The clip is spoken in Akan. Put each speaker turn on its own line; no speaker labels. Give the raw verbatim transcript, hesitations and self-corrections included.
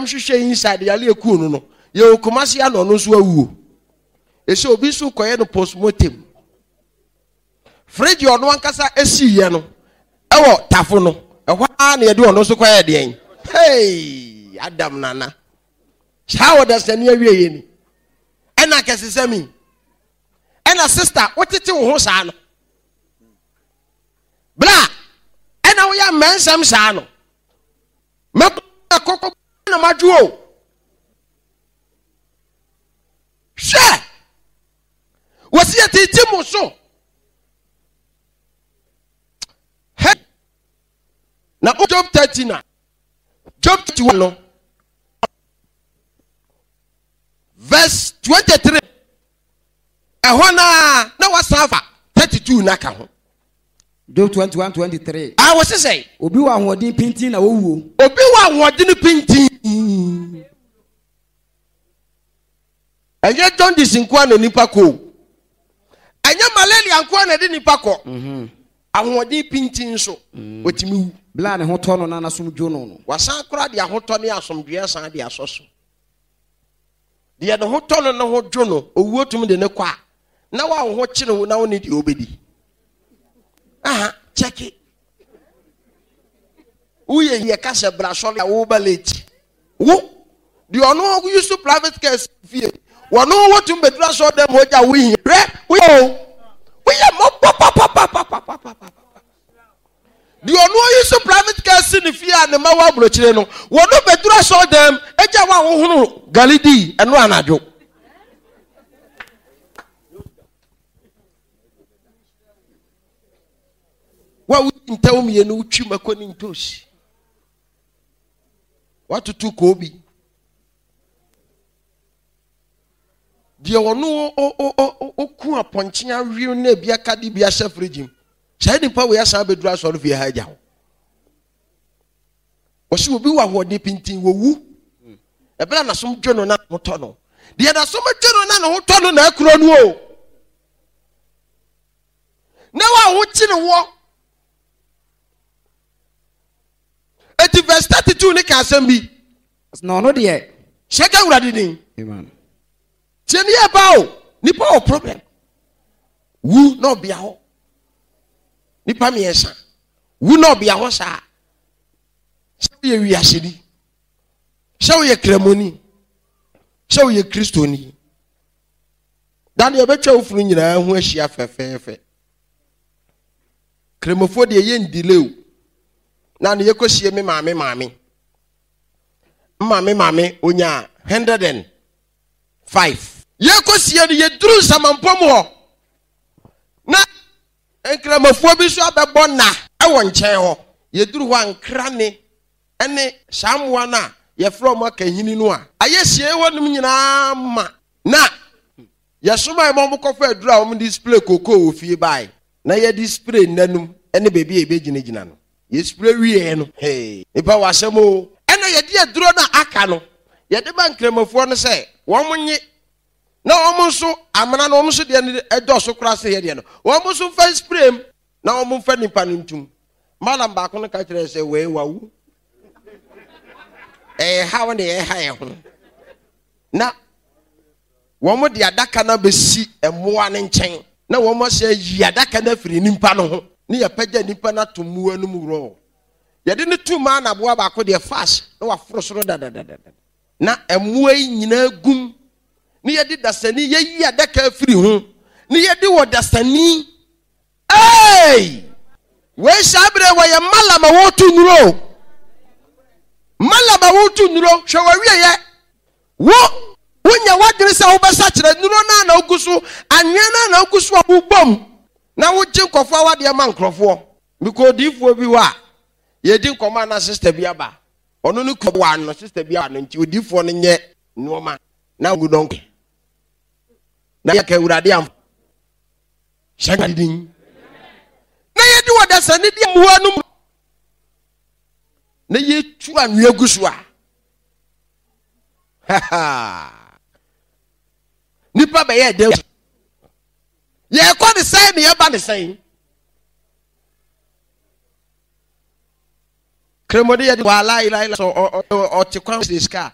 hwehwɛ inside yale eku no no. Yɛ Kumasi ano ɔno nso awuo. Esi obi nso kɔyɛ no postmortem. Fridge ɔno ankasa esi yɛ no ɛwɔ tafo no. Ɛhɔ ara na yɛde ɔno nso kɔyɛ deɛn. Hey, Adam nana. Saa wɔ dasani awie yɛ ni. Ɛna kɛse mi. Ɛna sister wotete wo ho saa no. Bra, ɛna woyɛ mmɛnsɛm saa no. Mɛkɔ kɔkɔ na madwo o. Hwɛ! Wɔsi yɛ tete mo so. Hey! Na Job thirty na Job thirty one no verse twenty three ɛhɔ naa na wasan afa thirty two na ka ho.
Job twenty one twenty three.
A wɔsi sɛ.
Obi wɔ ahoɔden pintin na owuo.
Obi wɔ ahoɔden pintin. Ɛnyɛ jaundice nkoa na nipa kɔ o. Ɛnyɛ malaria nkoa na ɛde nipa kɔ.
Mhm.
Ahoɔden pintin nso otumi wu.
Bla ne ho tɔ no na n'asom dwo no no.
Wasan kora de ahotɔ ne asomdwoeɛ san de asɔ so. Deɛ ne ho tɔ no ne ho dwo no, owuo tumi de ne kɔ a, na wa wo ho kyere wo na wo ne deɛ wobɛdi. Aha, kyɛke. Woyɛ yɛ ka sɛ bra sɔre a woba late. Wo, deɛ ɔno use private car fie, wɔno wotumi bɛduru asɔre dɛm hɔ gya wo hia. Hwɛ, woyɛ o. Woyɛ mmɔbɔ papapapapapapa. Deɛ ɔno use private car si ne fie a ne ma wɔ aburokyire no, wɔno bɛduru asɔre dɛm agya wo a wohono gali di ɛno anadwo. Wa wo ntɛw mmienu wotwi mako ne ntoosi. Watoto koobi. Deɛ ɔno ɔku apɔnkye awe na ebi aka de bi ahyɛ fridge mu. Saa nipa wei asan abɛduru asɔre fie ha agya hɔ. Wɔsi obi wɔ ahoɔden pintin wɔwu. Ɛbɛrɛ n'asom dwo no na ne ho tɔ no. Deɛ n'asom dwo no na ne ho tɔ no na akuro no o. Na wa ho kyere wɔ. Eti verse thirty two ne ka asɛm bi.
Na ɔno deɛ.
Hyɛ ka Awurade din.
Amen.
Tie ne yɛ ba o. Nipa wɔ problem. Wu na ɔbea hɔ. Nipa mmiɛnsa. Wu na ɔbea hɔ saa. Sɛ woyɛ wiaseni. Sɛ woyɛ kramoni. Sɛ woyɛ kristoni. Daniel bɛtwa wo funu nyinaa ho ahyia fɛfɛɛfɛ. Kramofoɔ deɛ yɛ ndile o. Na ne yɛkɔsie me maame maame. Maame maame onya hundred and five. Yɛkɔsie no yɛduru nsamampɔ mu hɔ. Na nkramofoɔ bi nso abɛbɔ nna ɛwɔ nkyɛn hɔ. Yɛduru hɔ a nkrane ɛne saa mmoa no a yɛfrɛ wɔn akahini no a ayɛ sie hɔ nom nyinaa ma. Na yɛsoma ma wɔn kɔfa aduru a wɔn de spray kokoo wɔ fie bae. Na yɛde spray nnanum ɛne baabi a yɛbɛgyinagyina no. Yɛ spray wie no. Hey, nipa wɔ asɛm o. Ɛna yɛde aduro no a aka no, yɛde ba nkramofoɔ no sɛ wɔn nye na wɔn nso amena no wɔn nso deɛ no ɛdɔɔso koraa sɛ yɛ deɛ no. Wɔn nso mfa spray mu na wɔn mfa nipa no ntum. Malam baako no ka kyerɛ sɛ wei wawu. Ɛyɛ haw na ɛyɛ ha yɛ ho. Na wɔn de adaka no abɛsi mmoa no nkyɛn. Na wɔn ahyɛ yi adaka no afiri nipa no ho. Ne yɛpɛgya nipa no ato mmoa no mu worɔ. Yɛde ne tu maa na aboa baako deɛ fast na waforo soro dadadadada. Na mmoa yi nyinaa gum. Ne yɛde dasani yɛyi adaka afiri ho. Ne yɛde wɔ dasani. Hey! Wei saa berɛ wɔyɛ malam a wɔreto nnuro. Malam a wɔreto nnuro, hwɛ wɔawieyɛ. Wo, wonya w'adwene sɛ wobɛsa kyerɛ nnuro no a na wogu so, anwea no a na wogu so a wobom. Na wogye nkɔfoɔ awadeɛ ma nkurɔfoɔ. Mekɔ odiyifoɔ bi hɔ a, yɛdi nkɔmmɔ a na sister bi aba. Ɔno ne kuro wa no, sister bi aba no nti odiyifoɔ no nyɛ nneɛma na ngu dɔnkɔ. Na yɛka Awurade amfa. Hyɛ nka din. Na yɛde wɔ dasani di mmoa no mu. Na yɛtu anwea gu so a. Nipa bɛyɛ dɛ. Yɛkɔ ne sɛn na yɛba ne sɛn. Kremode yɛde wɔ ala ila ila so ɔte kwan sika.